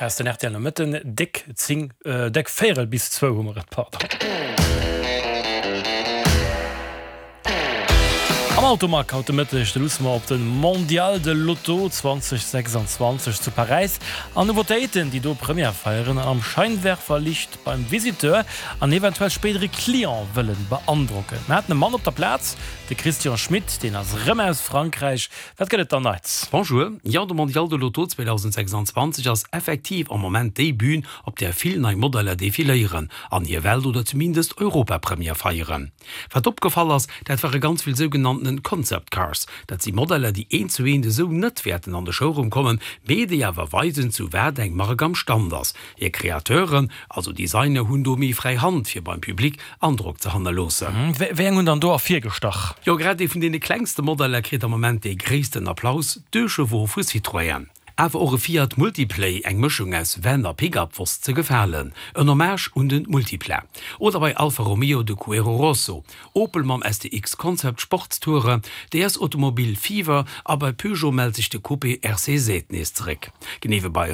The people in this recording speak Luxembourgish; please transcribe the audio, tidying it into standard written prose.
Aus den rtl Nomëtten, déck 10, déck véierel bis zwou hu mer et, pardon. Am Automag haut de Mëtteg, do luusse mer op de Mondial de l'Auto 2026 zu Paräis an Nouveautéiten, déi do Première feieren an am Scheinwerferlicht beim Visiteur an eventuell spéidere Client wëllen beandrocken. Mer haten e Mann op der Plaz, de Christian Schmit, deen ass erëm aus Frankräich. Wat gëtt et dann Neits? Bonjour, jo de Mondial de l'Auto 2026 ass effektiv am Moment déi Bühn, op där vill nei Modeller defiléieren an hir Welt oder zumindest Europapremière feieren. Wat opgefall ass, dat ware ganz vill sougenanntenen Concept Cars. Dat si Modeller, déi eent zu eent esou net wäerten an de Showroom kommen, mee déi awer weisen, zu wat eng Mark am Stand ass. Hir Kreateuren, also Designer, hunn do méi fräi Hand, fir beim Public Androck ze hannerloossen. Wéi eng hunn dann do ervirgestach? Jo, grad ee vun deene klengste Modeller kritt am Moment dee gréissten Applaus, d'Deux-Chevaux vu Citroën. Awer och e Fiat Multiplay, eng Mëschung aus Van a Pickup, wosst ze gefalen. En Hommage un den Multipla. Oder bei Alfa Romeo de Cuero Rosso, Opel mam STX Concept Sportstourer, DS Automobil Fever a bei Peugeot mellt sech de Coupé RCZ nees zeréck. Genee wéi bei.